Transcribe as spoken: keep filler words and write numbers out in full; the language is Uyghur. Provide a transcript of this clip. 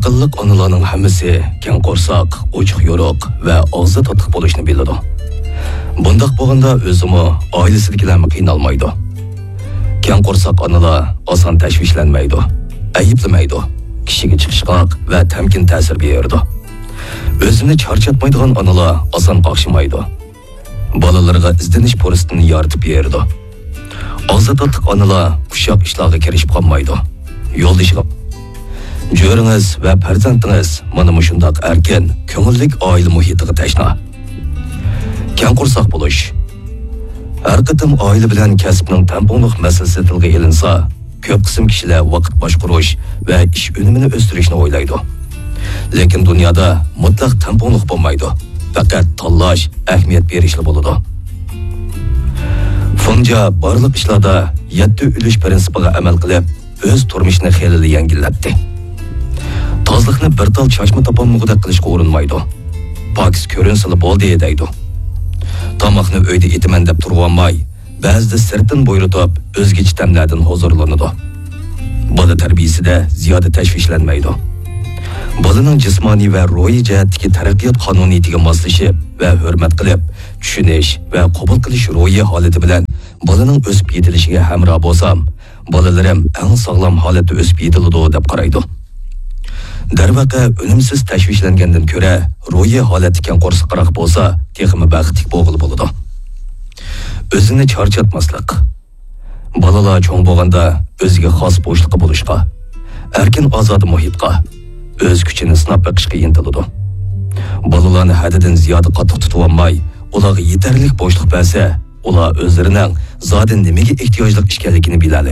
ئاياللىق ئانىلارنىڭ ھەممىسى كەڭ قورساق، ئوچۇق يورۇق ۋە ئاغزى تاتلىق بولۇشنى بىلىدۇ. بۇنداق بولغاندا ئۆزىمۇ، ئائىلىسىدىكىلەرمۇ قىينالمايدۇ. كەڭ قورساق ئانىلار ئاسان تەشۋىشلەنمەيدۇ، ئەيىبلىمەيدۇ، كىشىگە چىقىشقاق ۋە تەمكىن تەسىر بېرىدۇ. ئۆزىنى چارچاتمايدىغان ئانىلار ئاسان قاقشىمايدۇ. بالىلىرىغا ئىزدىنىش پۇرسىتىنى يارىتىپ بېرىدۇ. ئاغزى تاتلىق ئانىلار ئۇششاق ئىشلارغا كىرىشىپ قالمايدۇ. يولدىشىغا، جۆرىڭىز ۋە پەرزەنتىڭىز مانا مۇشۇنداق ئەركىن، كۆڭۈللۈك ئائىلە مۇھىتىغا تەشنا. كەڭ قورساق بولۇش. ھەر قېتىم ئائىلە بىلەن كەسىپنىڭ تەڭپۇڭلۇق مەسىلىسى تىلغا ئېلىنسا، كۆپ قىسىم كىشىلەر ۋاقىت باشقۇرۇش ۋە ئىش ئۈنۈمىنى ئۆستۈرۈشنى ئويلايدۇ. لېكىن دۇنيادا مۇتلەق تەڭپۇڭلۇق بولمايدۇ، پەقەت تاللاش، ئەھمىيەت بېرىشلا بولىدۇ. فېڭجيا بارلىق ئىشلاردا يەتتە ئۈلۈش پىرىنسىپىغا ئەمەل قىلىپ، ئۆز تۇرمۇشىنى خېلىلا يەڭگىللەتتى. تازىلىقنى بىر تال چاچما تاپالمىغۇدەك قىلىشقا ئۇرۇنمايدۇ. پاكىز كۆرۈنسىلا بولدى دەيدۇ. تاماقنى ئۆيدە ئېتىمەن دەپ تۇرۇۋالماي، بەزىدە سىرتتىن بۇيرۇتۇپ، ئۆزگىچە تەملەردىن ھۇزۇرلىنىدۇ. بالا تەربىيىسىدە زىيادە تەشۋىشلەنمەيدۇ. بالىنىڭ جىسمانىي ۋە روھىي جەھەتتىكى تەرەققىيات قانۇنىيىتىگە ماسلىشىپ ۋە ھۆرمەت قىلىپ، چۈشىنىش ۋە قوبۇل قىلىش روھىي ھالىتى بىلەن بالىنىڭ ئۆسۈپ يېتىلىشىگە ھەمراھ بولسام، بالىلىرىم ئەڭ ساغلام ھالەتتە ئۆسۈپ يېتىلىدۇ، دەپ قارايدۇ. دەرۋەقە، ئۈنۈمسىز تەشۋىشلەنگەندىن كۆرە، روھىي ھالەتتە كەڭ قورساقراق بولسا، تېخىمۇ بەختلىك بولغىلى بولىدۇ. ئۆزىنى چارچاتماسلىق. بالىلار چوڭ بولغاندا ئۆزىگە خاس بوشلۇققا بولۇشقا، ئەركىن ئازادە مۇھىتقا، ئۆز كۈچىنى سىناپ بېقىشقا ئىنتىلىدۇ. بالىلارنى ھەددىدىن زىيادە قاتتىق تۇتۇۋالماي، ئۇلارغا يېتەرلىك بوشلۇق بەرسە، ئۇلار ئۆزلىرىنىڭ زادى نېمىگە ئېھتىياجلىق ئىكەنلىكىنى بىلەلەيدۇ.